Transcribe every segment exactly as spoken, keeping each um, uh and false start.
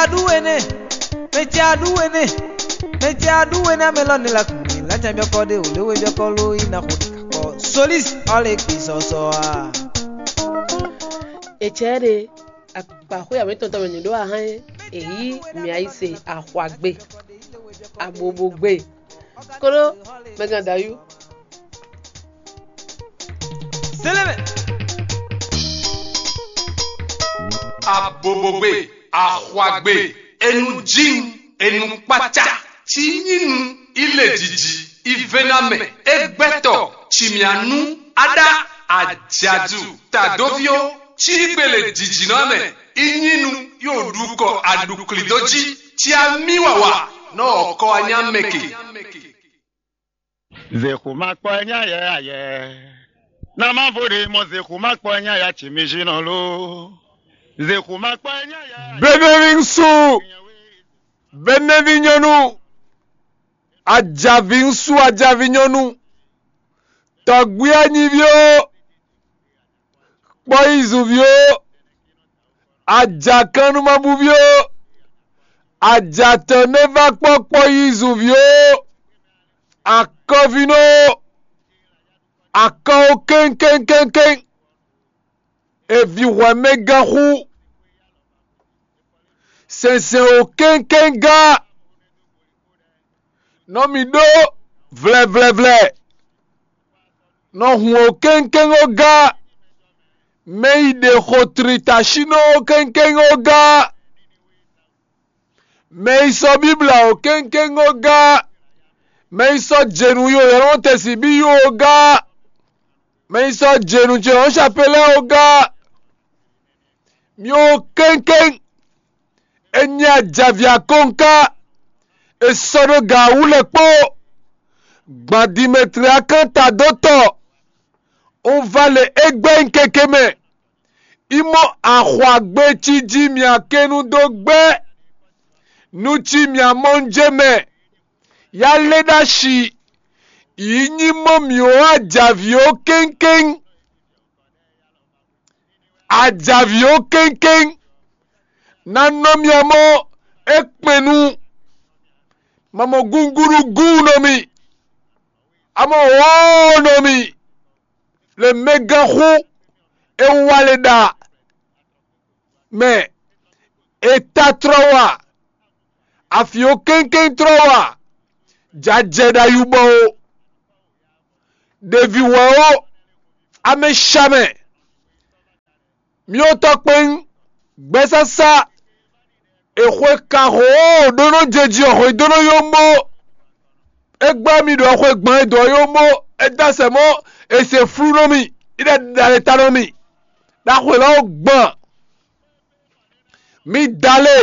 Aɖu énɛ́, mɛ ce aɖu énɛ́, mɛ ce aɖu énɛ́ amɛ lɔ ne la kun mi la can byɔkɔ ɖe o le we byɔkɔ lo yi na xo ɖe kakɔ. Solis ɔle kpi sɔsɔ a. Etsɛ ɖe akpaxwé awětɔn tɔn mɛ nyǐ ɖó ahán é, èyí mǐ ayi se axwagbe, abobogbe, kóɖó mɛgán dayú. Sélébɛ. Abobogbe, axwagbe, enu jin, enu kpácá, ci nyí nu, ilé jiji, ivénámɛ, égbɛ́tɔ, cimyanu, aɖá, ajadu, tadovíó, cígbele jijinɔ mɛ, inyínu, yóò ɖu kɔ aɖuklidó jí, ci amí wawa, nɔ ɔkɔ anyá mɛ ke. Zexu ma kpɔ nya yɛ ayɛ. Na ma vo ɖe mɔ zexu ma kpɔ nya ya ci mi zi nɔ lo. Zexu ma kpɔ nya yɛ. Benɛvi ŋsu, benɛvi nyɔnu, ajavi ŋsu, ajavi nyɔnu, tɔgbi anyiví ó, kpɔyizunví ó, ajakannumabúví ó, ajatɔ́ nɛ́ va kpɔ́ kpɔyizunví ó, akɔvínɔ ó, akɔ ó kɛ́nkɛ́nkɛ́nkɛ́n, èvǐ hwɛmɛgán xú, sɛnsɛn ó kɛ́nkɛ́ngán, nɔ mì ɖó vlɛvlɛvlɛ, nɔ hun ó kɛ́nkɛ́n ó gá, mɛ yi ɖe xo tlitasinɔ ó kɛ́nkɛ́n ó gá, mɛ yi sɔ́ Bíbla ó kɛ́nkɛ́n ó gá, mɛ yi sɔ́ jenu yi ó yɔ́nɔ tɛ́nsin bí yi ó gá, mɛ yi sɔ́ jenu ce ɔ́ sapelɛ́ ó gá. Mi ó kɛ́nkɛ́n, é nyí ajavǐ akɔ́nká, è sɔ́ ɖó gǎ wú lɛ́ kpó. Gban Dimetleyakán ta dó tɔ, un va lě é gbɛ́ nyi keke mɛ. Yi mɔ axwagbe cí jí mì akenu dó gbɛ́, nu cí mì amɔnjé mɛ, yá lé ɖó asi, yi nyí mɔ mì ó ajavǐ ó kɛ́nkɛ́n. Ajavǐ ó kɛ́nkɛ́n, ná nɔ mì amɔ é kpɛn nu, mamɔ gúngúɖú gúun nɔ mì, amɔ wɔ̌ɔn nɔ mì, le mɛgán xú é wá le ɖa mɛ, è ta tlɔ wa, afǐ ó kɛ́nkɛ́n tlɔ wa, jǎ jɛ ɖo ayubɔ ó, ɖevi hwɛ ó, amɛshamɛ, myɔtɔ́ kpɛ́n, gbɛsásá, è xwe kanxó ɖó nɔ jɛ jí ɔ́ xwedó nɔ yó mɔ. É gbá mi ɖo xwe gbɔn e dǒ ɔ́ yó mɔ, é dó asɛ mɔ, è se flú nɔ mì, é ɖo ɖale ta nɔ mì, ɖo axwe lɔ́ gbɔn. Mi da lé,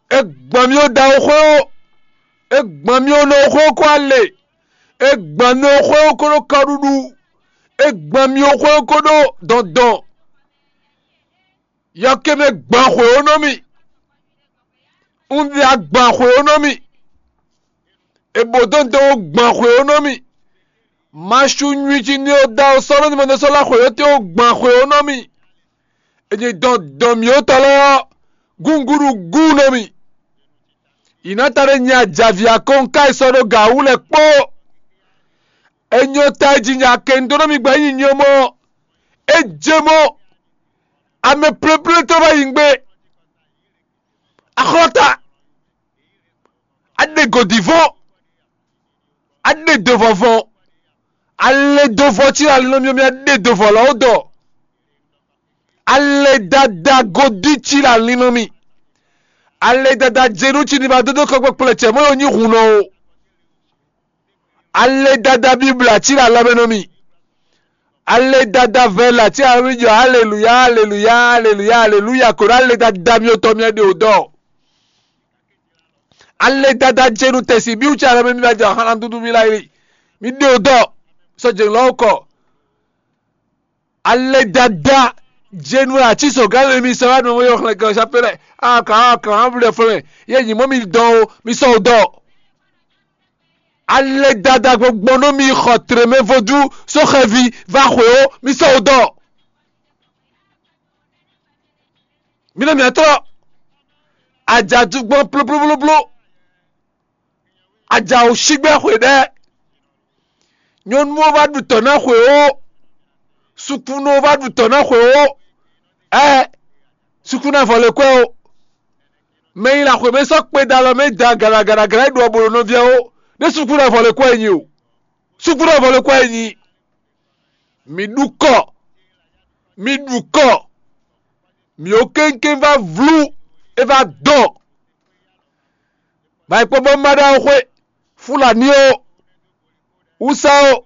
é gbɔn mi ó da ó xwé ó, é gbɔn mi ó nɔ xwé ó kó alě, é gbɔn mi ó xwé ó kó ɖó kɔɖuɖu, é gbɔn mi ó xwé ó kó ɖó dɔndɔn. Yɔkɛ́mɛ gban xwě ó nɔ mì, un ɖe agban xwě ó nɔ mì, è bǒ dɔndɔn ó gban xwě ó nɔ mì. Masu nywi ci ní ó da ó sɔ́ nɔ ní mɔ sɔ́ lá xwě ó tɛ́ ó gban xwě ó nɔ mì. È nyi dɔn dɔn mǐ ó tɔ lɛ́ɛ ɔ́, gúngúɖú gúun nɔ mì. Yǐnáta ɖé nyi ajavǐ akɔ́nká e sɔ́ ɖó gǎ wú lɛ́ɛ kpó. È nyɔ ta e jǐ nya kɛnɖónɔmì gbɛ́ nyi nyɔ́mɔ́. É jɛ mɔ amɛ plɛ́plɛ́ tɔn va yi gbé. Axɔ́ta, a ɖe gǒdivɔ́n, a ɖe dovɔvɔn, a lɛ dovɔ cí la linlɔ́n mì, a ɖe dovɔ lɔ́ dɔ, a lɛ dada godi cí la linlɔ́n mì, a lɛ dada jenu cí ní ba dó dó kɔkpɛkplɛ cɛ mɔ̌ yɔ nyí hun nɔ o. Ale dada Bíbla cí ɖo alɔ mɛ nú mì. Ale dada vɛ̌ la cí ɖo alɔ mɛ jɔ aleluya, aleluya, aleluya, aleluya ko ɖo ale dada mì tɔn mì ɖe o dɔ. Ale dada jenu tɛsi bí wú cí alɔ mɛ mì va jɔ xana dúdú mì la yi. Mì ɖe o dɔ. Sɔ jenu lɔ kɔ. Ale dada jenu la cí sɔ gán mɛ mì sɔ wá nɔ yɔ xlɛ gán sapelɛ. Akan akan avlɛ flɛ. Ye nyi mɔ mì dɔn o, mì sɔ o dɔ. Ale dada gbɔgbɔ nɔ mi xɔ tremɛ vodú só xɛvi va xwé ó, mi sɔ́ wò dɔ. Mi nɔ mì atrɔ. Ajadu gbɔn plúplúplúplú. Aja wǒ sígbɛ́ xwe ɖɛ́. Nyɔ̌nu ɔ́ vá ɖu tɔ̌ ná xwe ó. Sukúnú ɔ́ vá ɖu tɔ̌ ná xwe ó. Ɛ́, sukúnú avɔ lɛ́ kwɛ́ ó. Mɛ e nyi lǎxwé mɛ sɔ́ kpe ɖo alɔ mɛ da galagalagala e ɖu ɔ́ bo ɖo nɔví ɔ́ ó. Ɖé sukúnú avɔ lɛ́ kwɛ́ e nyi o. Sukúnú avɔ lɛ́ kwɛ́ e nyi. Mi ɖu kɔ. Mi ɖu kɔ. Mǐ ó kéŋkéŋ vá vlú, é vá dɔn. Mayi kpɔ́n bɔ má ɖó awu xwé, Fulani ó, Wúsa ó,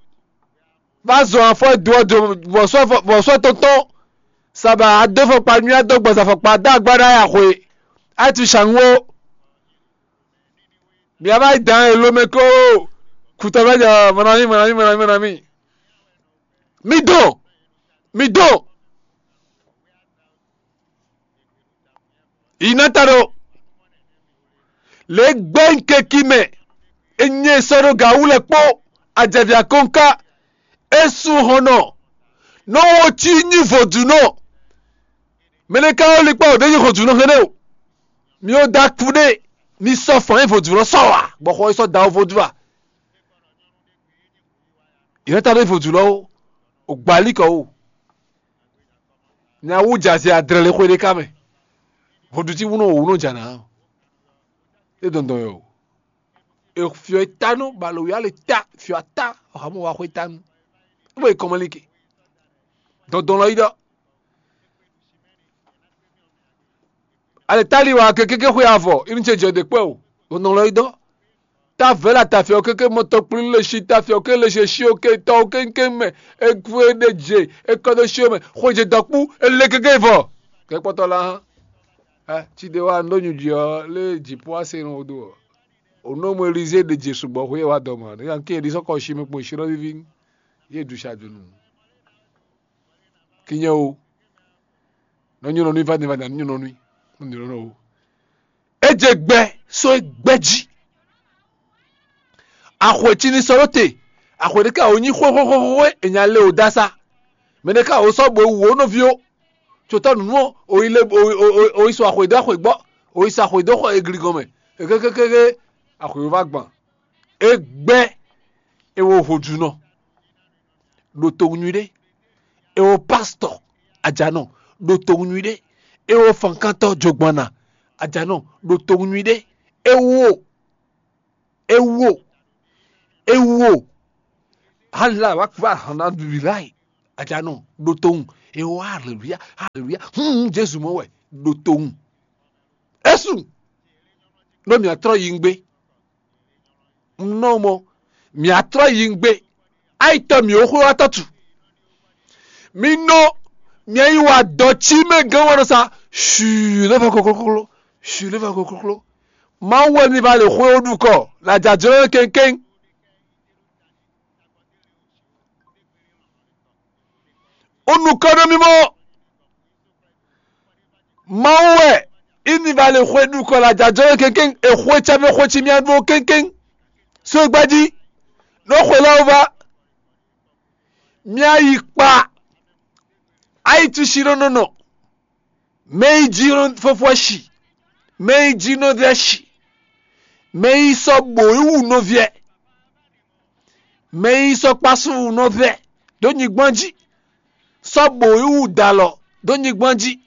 vá zɔn afɔ e do ɔ́ do vɔ̌sɔ́ tɔntɔn, sabǎ adó fɔkpa nywí adó gbɔn afɔkpa dó agba ɖó aya xwe, a yi tunwun shangu ó. Mǐ wá yi dǎn e lomɛ kó kutɔ́ vɛ́ jɛ mɔnamí mɔnamí mɔnamí mɔnamí. Mi dɔn, mi dɔn. Yi ná ta ɖo lě e gbɛ́ nyí keki mɛ, é nyɛ sɔ́ ɖó gǎ wú lɛ́ɛ kpó ajɛvǐ akɔ́nká, é sú hɔn nɔ, nɔ wo cí nyí vodúnɔ. Mɛ ɖé ka wɛ lin kpá wǒ ɖé nyí vodúnɔ hɛn o. Mi ó da kú ɖé, mi sɔ́ fɔn nyí vodúnɔ sɔ́ wa, bɔ xɔ é sɔ́ da wó vodún a? Yě ná ta ɖó vodúnɔ ó, o gbǎ lí kɔ ó. Nya wú jɛ azɛ adrɛ lé xwé ɖé ká mɛ. Vodún cí wúnɔ wǒ wúnɔ jà ná. É dɔndɔn yɔ o. E fiɔ e ta nú balo ya le ta fiɔ ata, ɔhamɔ wa xwé ta nú. É bɔ e kɔmɔ lin ke. Dɔndɔn lɔ yi ɖɔ. Ale tali wa ke kéké xwe avɔ, inu ce jɛ ɖe kpɛ o. Dɔndɔn lɔ yi ɖɔ. Ta vɛ̌ la ta fiɔ kéké mɔtɔ kplí le shi ta fiɔ ké le shi shi o ke tɔ o kéŋkéŋ mɛ. E kú e ɖe je, e kɔ ɖo shi o mɛ. Xwe je dɔkpú, e le kéké vɔ. Kɛ kpɔtɔ la hã. Ɛ, tsi ɖe wa un ɖó nyuɖi ɔ́, lé jǐ pó ase nɔ do ɔ́. O nɔ mɔ Elizée ɖe je sugbɔ xwe wa dɔ mɔ. Ne yan ké ɖi sɔkɔ shi mi kpɔn shi ɖɔ vivi. Ye du sa dunu. Kinyɛ o. Nɔ nyɔ nɔ nui va ne va na nyɔ nɔ nui. Nɔ nyɔ nɔ o. E je gbɛ so e gbɛ jí. Axwe ci ni sɔ ɖó te. Axwe ɖé ka o nyi xwexwexwe e nya le o da sa. Mɛ ɖé ka o sɔ bo wu o nɔví o. Tsotɔ́ nǔnú ɔ́, o yi le o yi o yi sɔ axwe dó axwe gbɔ, o yi sɔ axwe dó xɔ egli gɔn mɛ. Ekékékéké, axwe va gban. E gbɛ, e wo hojunɔ, ɖo towun nyuiɖe. E wo pastɔ, ajanɔ, ɖo towun nyuiɖe. E wo fankantɔ jogbanna, ajanɔ, ɖo towun nyuiɖe. E wo, e wo, e wo. Hala wa kpa hana bibi lai, ajanɔ, ɖo towun. E wo haleluya, haleluya. Hmm, Jesu mɔ wɛ, ɖo towun. Esu, ɖó mǐ trɔ yi ngbé. Un nɔ mɔ, mǐ trɔ yi ngbé. Ayitɔ mǐ ó xwe wá tɔ́tu. Mi nɔ, mi yi wa dɔ cí mɛ gán wá nɔ sa. Shuu lé va koklókló, shuu lé va koklókló. Mawu wɛ mi va lě xwe ó ɖu kɔ, lajajlɔ́ kɛnkɛn. Ó nukɔn nú mì mɔ. Mawu wɛ, ínivale xwe ɖu kɔ lajajɔ kɛnkɛn, e xwe cɛmɛ xwe ci mia ɖó kɛnkɛn. So e gbají, nɔ xwe lɔ va. Mia yi kpa. Ayi tusi nɔ nɔ nɔ. Mɛ yi jí nɔ fɔfɔ shi. Mɛ yi jí nɔ vɛ shi. Mɛ yi sɔ bo yi wu nɔ vɛ. Mɛ yi sɔ kpasu wu nɔ vɛ ɖó nyigban jí. Sɔ bo yi wu dalɔ ɖó nyigban jí.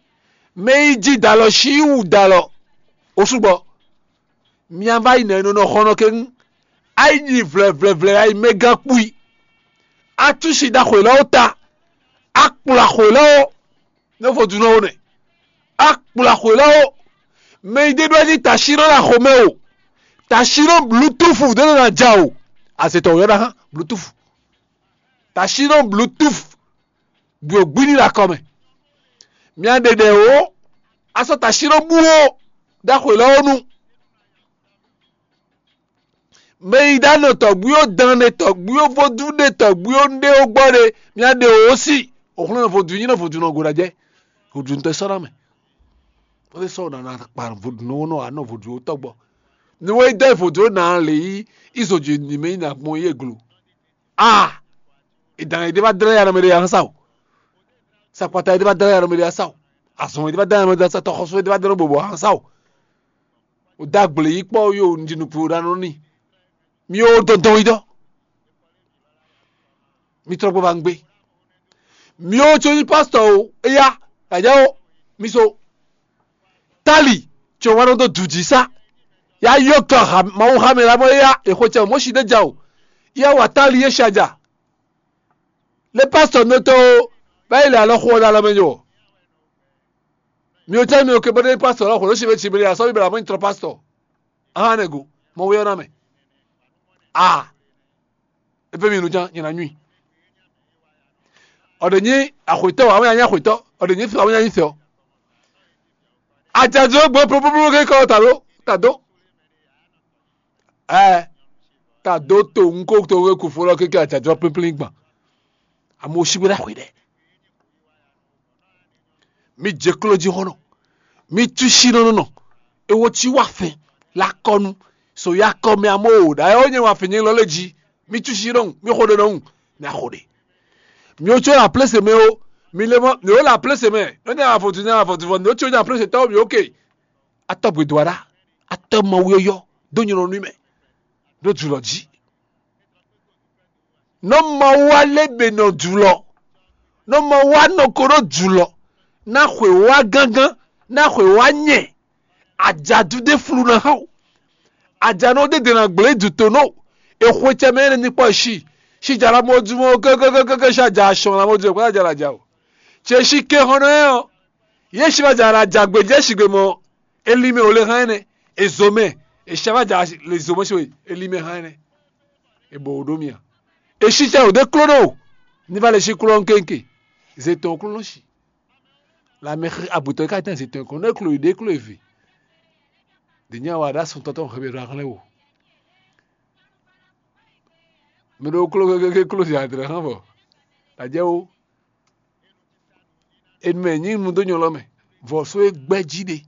Mɛ yi jí dalɔ shi yi wu dalɔ. Osugbɔ. Mia va yi nɛ nɔ nɔ xɔnɔ ke ŋu. Ayi nyi vlɛvlɛvlɛ ayi mɛ gán kpui. Atusi ɖaxwe lɔ ta. Akplɔ axwe lɔ. Ne vodunɔ wo nɛ. Akplɔ axwe lɔ. Mɛ yi ɖe ɖɔ jí tasinɔ la xomɛ o. Tasinɔ bluetooth ɖe nɔ na ja o. Azetɔ yɔ na hã bluetooth. Tasinɔ bluetooth. Ɖo gbini la kɔmɛ. Mia ɖeɖe o. Asɔ tasinɔ bu o. Ɖaxwe lɔ nu. Mɛ yi ɖa nɔ tɔgbuiwo dán ɖe tɔgbuiwo vodún ɖe tɔgbuiwo ɖe ó gbɔ ɖe, mia ɖe wǒ si. Òxlɔ́nɔ vodún nyí nɔ vodún nɔ go ɖa jɛ. Vodún tɛ sɔ́ ná mɛ. Wọ́n sɔ́ ná ná kpa vodún nɔ wó nɔ anɔ vodún ó tɔgbɔ. Ni wọ́n yi dɔ vodún ó nà lè yí izɔdzi ni mɛ yi nà gbɔn yé glo. Ah! Ìdàn yìí dé bá dlẹ́ yàrá mi ɖe yàrá sá o. Sakpata yìí dé bá dlẹ́ yàrá mi ɖe yàrá sá o. Azɔn yìí dé bá dlẹ́ yàrá mi ɖe yàrá sá, tɔxɔsó yìí dé bá dlẹ́ bòbò yàrá sá o. O dó agble yí kpɔ́ yo un jí nukún ɖa nɔ n'i. Mi ó dɔn dɔn yi dɔ. Mi trɔ gbɔ ba un gbé. Mi ó tso nyí pastɔ o, eya, aja o, mi so. Tali, tso wa nɔ dó du jí sá. Ya yɔ kan ha Mawu ha mɛ la mɔ eya, e xwe cɛ o, Mɔsi ɖe ja o. Ya wa tali ye sha ja. Le pastɔ nɔ tɔ o, ba yi le alɔ xo ɔ́ ɖe alɔ mɛ nyɔ. Mi ó tɛ mi ó ke bɔ ɖe pastɔ lɔ xwe ɖo si mɛ ci mɛ ɖe asɔ bi bla mɔ nyi trɔ pastɔ. Ahan ne go, mɔ wé ɔ́ ná mɛ. A, e fɛ mi nu can nyɛ na nyui. Ɔ ɖe nyi axwetɔ, awɛ nya nyi axwetɔ, ɔ ɖe nyi fɛ, awɛ nya nyi fɛ ɔ. Ajadzɔ gbɔ ploploploplo ke kɔ ta ɖo ta do. Ɛ, ta do to ŋu ko to we kufo lɔ keke ajadzɔ pínplín gban. Amewo si bó ɖo axwe ɖɛ. Mi jɛ kló jí xɔnɔ. Mi tú sí nɔ nɔ. Ewo cí wá fɛn la kɔnu. So ya kɔ mɛ amó o ɖa ɛ ó nyɛ wá fɛn nyɛ lɔ lé jí. Mi tú sí nɔ. Mi xo ɖe nɔ. Mi axo ɖe. Mi ó tsó la plése mɛ o. Mi lé mɔ mi ó la plése mɛ. Nɔ nyɛ afɔtu nyɛ afɔtu fɔ mi ó tsó nyɛ plése tɔwo mi ó ke. Atɔ́ gbedwáɖá, atɔ́ mawuyɔ́yɔ́ dó nylɔ́ nú mɛ ɖó jǔlɔ jí. Nɔ Mawu wá lé be nɔ jǔlɔ, nɔ Mawu wá nɔ ko ɖó jǔlɔ, ná xwě wá gángán, ná xwě wá nyɛ, ajadu ɖé flu ná xá o. Ajanɔ ɖé ɖě ná gblé dutó nɔ, è xwe cɛ mɛ énɛ́ ní kpɔ́ sí, sí jala mɔ jú mɔ kékékéké sí aja sɔn ná mɔ jú kpɔ́ aja la ja o. Cɛ sí ké xɔnɔ ɛ ɔ, yě sí ma ja la ja gbé jɛ sigbe mɔ, é lí mɛ o lé hán énɛ́, è zǒ mɛ, è sí ma ja le zǒ mɛ sí we, é lí mɛ hán énɛ́. È bɔ wǒ ɖó mì a? È sí cɛ wǒ ɖé kló ɖó, ní va lɛ sí kló ɔ́ kéŋké, zě tɔn kló nɔ sí. Lanmɛ xi abutɔ e ka tɛ́n zětɔn kɔn nú é klo yi ɖě klo yi vǐ. Ɖě nyɛ wa ɖo asɔntɔ́ tɔn hɛbɛ ɖo ahlɛ́ wo. Mi ɖo klo kékéké klo zě adrɛ̌ hán vɔ. Ɖajɛ wo. Enu mɛ nyí nu dó nyɔlɔ mɛ. Vɔ̌só e gbɛ́ jí ɖe.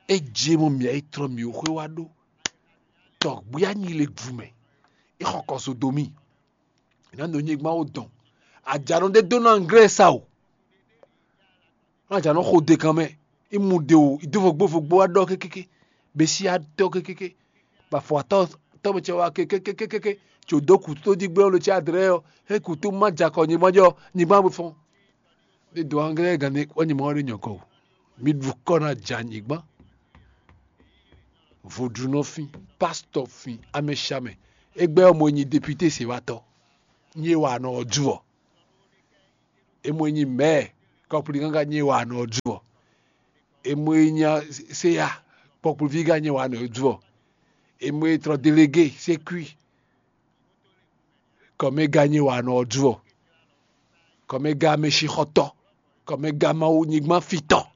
É je mɔ mǐa yi tlɔ mǐ xwé wá ɖó. Tɔgbí anyi le gu mɛ. É xɔ kɔ so do mì. È nǎ nɔ nyigban ó dɔn. Ajanɔ ɖé dó nɔ anglɛ́ sa o. Nɔ ajanɔ xo dekan mɛ. Imu ɖe o, idó vogbó vogbó wá ɖɔ kékéké. Besi atɔ kékéké. Bɔ afɔ atɔ tɔmɛ cɛ wá kékékékéké. Tso dó kutó jí gbé ɔ́ lo cí adrɛ ɔ́. É kutó má jakɔ nyigban jɔ nyigban bó fɔn. Ɖe dó anglɛ́ gǎn wá nyigban ɔ́ ɖe nyɔ̌kɔ o. Mi ɖu kɔ ná ja nyigban. Vodúnɔ fín, pásítọ̀ fín, amɛshamɛ. Égbɛ́ ɔ́ mo nyi depité sewatɔ. Nyí e wa nɔ ɔ́ ju ɔ. E mo nyi mɛ̌, kɔkpli gángan nyí e wa nɔ ɔ́ ju ɔ. E mo nyi seya, kpɔkpliví gán nyí e wa nɔ ɔ́ ju ɔ. E mo e tlɔ delégé sékui, kɔmɛgán nyí e wa nɔ ɔ́ ju ɔ. Kɔmɛgán mɛsixɔtɔ, kɔmɛgán Mawu nyigban fitɔ.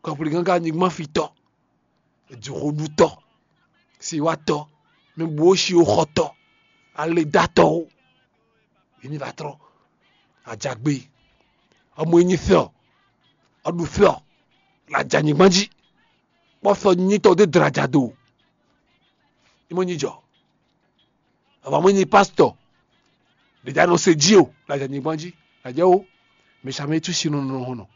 Kɔkpli gángan nyigban fitɔ, jǐxoɖutɔ, siwatɔ, mɛ bú ó si ó xɔtɔ, aledatɔwo, yě ní va trɔ́ ajagbe, ɔmɔ e nyi fɛ ɔ, ɔɖu fɛ ɔ, la ja nyigban jí, kpɔ́ fɛ nyitɔ ɖé dra ja do, é mɔ nyi jɔ. Avɔ mɔ nyi pásítọ̀ ɖě ja nɔ se jí o, la ja nyigban jí, la jɛ wo, mɛ sa mɛ tú si nɔ nɔ hɔn nɔ.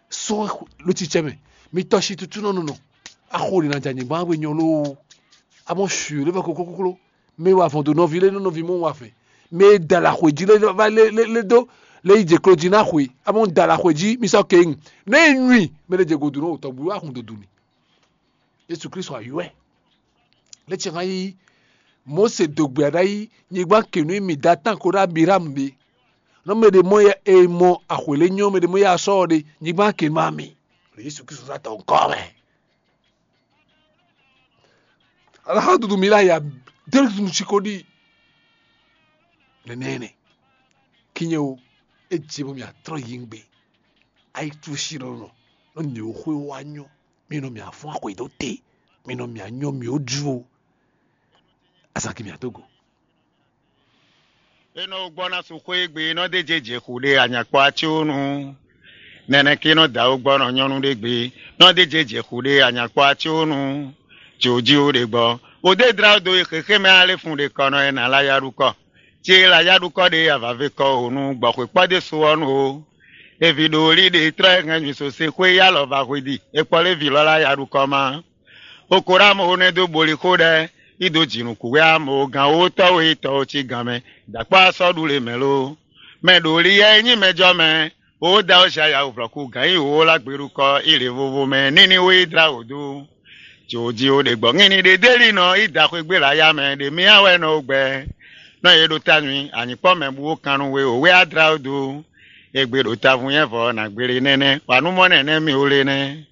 Sɔ́ ló cicɛ mɛ, mi tɔ si tutu nɔ nɔ nɔ. Axo ɖě na ja nyigban we nyɔ loo. Amɔ sui lé vɔ koklo koklo. Mɛ wa vɔn do nɔvi lé nɔ nɔvi mɔ wa fɛ. Mɛ da la xwe jí lé va lé lé lé do lé yi jɛ klo jí na xwe. Amɔ da la xwe jí mi sɔ ke ŋu. Ne yi nyui mɛ ɖe jɛ godu nɔ tɔgbu wa hun dodu ni. Yesu Kristu ayɔ́ ɛ. Lě ce hã yí Mose dǒ gbɛ ɖ'ayǐ nyigban kě nú mì dó atán ko ɖó Abiraham ɖe. Nɔ mɛ ɖě mɔ e mɔ axwě lé nyɔ́ mɛ ɖě mɔ ya sɔ́ ɔ ɖe nyigban kě nú ami. Ɖo Yesu Kristu sá tɔn kɔ mɛ. Alaha dudu mi la ya delu dudu si ko ɖi. Nɛnɛ nɛ. Kinye o, e dze bɔ mi atrɔ yi ŋgbe. Ayi tu si nɔ nɔ nɔ nyi o xwe wa nyɔ. Mi nɔ mi afɔn axwe dó te. Mi nɔ mi anyɔ mi o ju o. Azaki mi ato go. E nɔ gbɔ ná su xwé gbe nɔ dé jɛ jɛ xu ɖe anyakpɔ atsonu. Nɛnɛ ke nɔ da wo gbɔ nɔ nyɔnu ɖe gbe nɔ dé jɛ jɛ xu ɖe anyakpɔ atsonu. Tso ji wo ɖe gbɔ. O dé dra do e xexé mɛ alé fun ɖe kɔnɔ e nà la ya ɖu kɔ. Ci e la ya ɖu kɔ ɖe avave kɔ o nu gbɔ xwe kpɔ dé so ɔ́ nu o. Evi ɖo li ɖe trɔ e hɛn nyi so se xwé ya lɔ va hwe di. E kpɔ lé vi lɔ la ya ɖu kɔ ma. Okorámo nɛ́ dó boli xó ɖɛ́, yi dó jǐnukúnwɛ amɔ̌ gán wótɔ́ we tɔ́ cí gǎn mɛ, dǎkpá sɔ́ ɖu lě mɛ ló. Mɛ ɖo li yɛ e nyí mɛjɔ mɛ, wó da ó zi aya wǔvlɔ́kú gǎn yi wǒ lá gbeɖukɔ yi lě vovo mɛ níní wó yi dlá wǒ dó. Jǒ jí ó ɖe gbɔ̌ ŋíní ɖé dé li nɔ yi da xwé gbé lǎyá mɛ ɖe mì á wɛ nɔ ó gbɛ. Nɔ e ɖo ta nyi anyǐkpɔ́ mɛ bú ó kan nú we wǒ wɛ á dlá ó dó. Égbé ɖo tavun nyɛ vɔ nǎ gbélé nɛ́nɛ́, wǎ nú mɔ nɛnɛ́ mì ó lé nɛ́.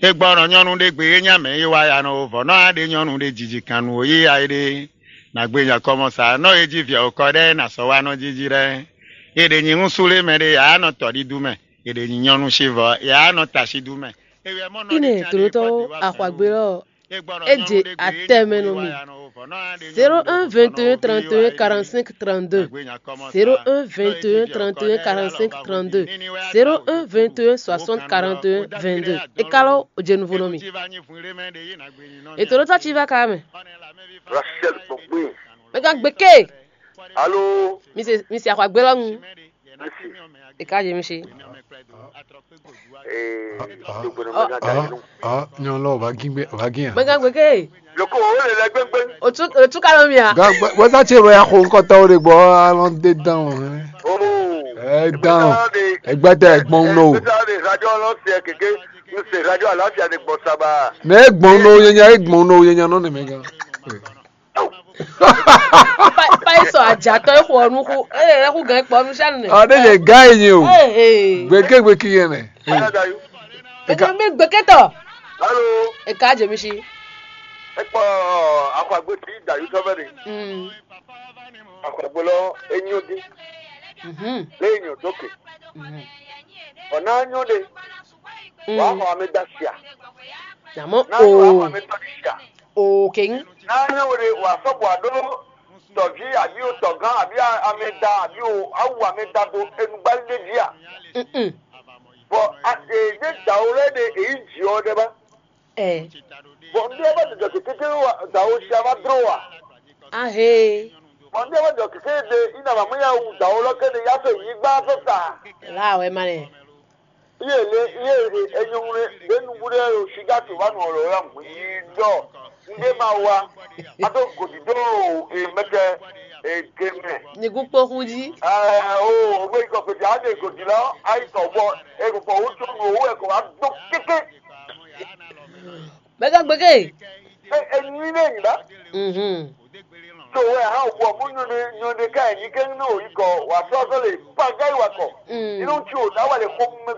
É gbɔ nɔ nyɔ́nu ɖé gbe é nyí amɛ e wá ya nɔ ó vɔ nɔ á ɖe nyɔ́nu ɖé jiji kan nú ó yí ya é ɖe. Nǎ gbe nya kɔmɔsa nɔ é jí vǐ ɔ́ kɔ ɖɛ́ nǎ sɔ́ wá nɔ jiji lɛ́ɛ. É ɖe nyi húnsú lé mɛ ɖé ǎ nɔ tɔ ɖídú mɛ. É ɖe nyi nyɔ́nu shívɔ é á nɔ ta shídú mɛ. Ine tlotɔwo axwagbe lɔ, e je atɛ mɛ nɔ mi. Zéro un vingt et un trente et un quarante-cinq trente-deux. Zéro un vingt et un trente et un quarante-cinq trente-deux. Zéro un vingt et un soixante quarante et un vingt-deux. E ka lɔ o je nouveau nɔ mi. E tlotɔ ci va ka mɛ. Rachel Gbɔngbé. Mɛ ka gbe ke. Alo. Mi se mi se axwagbe lɔ ŋu. Merci. E ka je mi se. Ee, dogbe nɔ mɛ ka da yɛlɛ. Ah, nyɔnu lɔ, o va gín gbé, o va gín ya. Mɛ ka gbe ke. Loko o le lɛ gbɛngbɛng. O tu o tu ka lɔ mi a. Ga gbɛ, wɛsa tse wɛ ya xo ŋkɔtɔwo ɖe gbɔ alɔ de dan o. Oo. Ɛ dan o. Egbɛtɛ gbɔn no. Egbɛtɛ de radio lɔ se keke. N se radio alafia de gbɔ saba. Mɛ egbɔn no yenya egbɔn no yenya nɔ ne mɛ gan. Pa pa e sɔ ajatɔ e xɔ nuxu e e xu gan kpɔ nu sanu ne. Ɔ ne yɛ ga yi nyi o. Ee. Gbeke gbeki yɛ nɛ. Aya da yu. Eke mi gbeketɔ. Alo. E ka je mi si. Ekpɔ akwagbe ti da yu tɔbɛ de. Mm. Akwagbe lɔ enyo di. Mhm. Le enyo doke. Mhm. Ɔna enyo de. Wa xɔ ame da sia. Jamɔ Na wa xɔ o ame tɔ di sia. O keng. Na enyo de wa sɔgbɔ ado tɔvi abi o tɔgan abi ame da abi o awu ame da do enugba de dia. Mm. Bɔn a e de dawo lɛ de eyi dzi ɔ de ba. Ɛ. Bɔn n de ba de dɔ kekeke wa dawo sia va dro wa. Ahe. Bɔn n de ba de dɔ kekeke de ina ma mɛ ya wu dawo lɔ ke de ya fɛ yi gba fɛ ta. La wɛ ma lɛ. Iye le iye le enyɔnwle de nubu de o si ga to va nɔ lɔ ya mu yi dɔ. N de ma wa. A do godi do e mɛtɛ e ge mɛ. Nigu kpoxu dzi. Ɛɛ o o gbé ikɔ kpete a de godi lɔ ayi kɔ bɔ e kɔ kɔ o tún o wɛ kɔ wa do keke. Bɛgɛ gbɛgɛ. E e nyui ne nyi ba. Mhm. So wɛ ha o bɔ mu nyɔ ne nyɔ ne ka yi ni kɛ ne o yi kɔ wa sɔ sɔ le pa ga yi wa kɔ. Mm. Inú tí o dá wà lè kó mɛ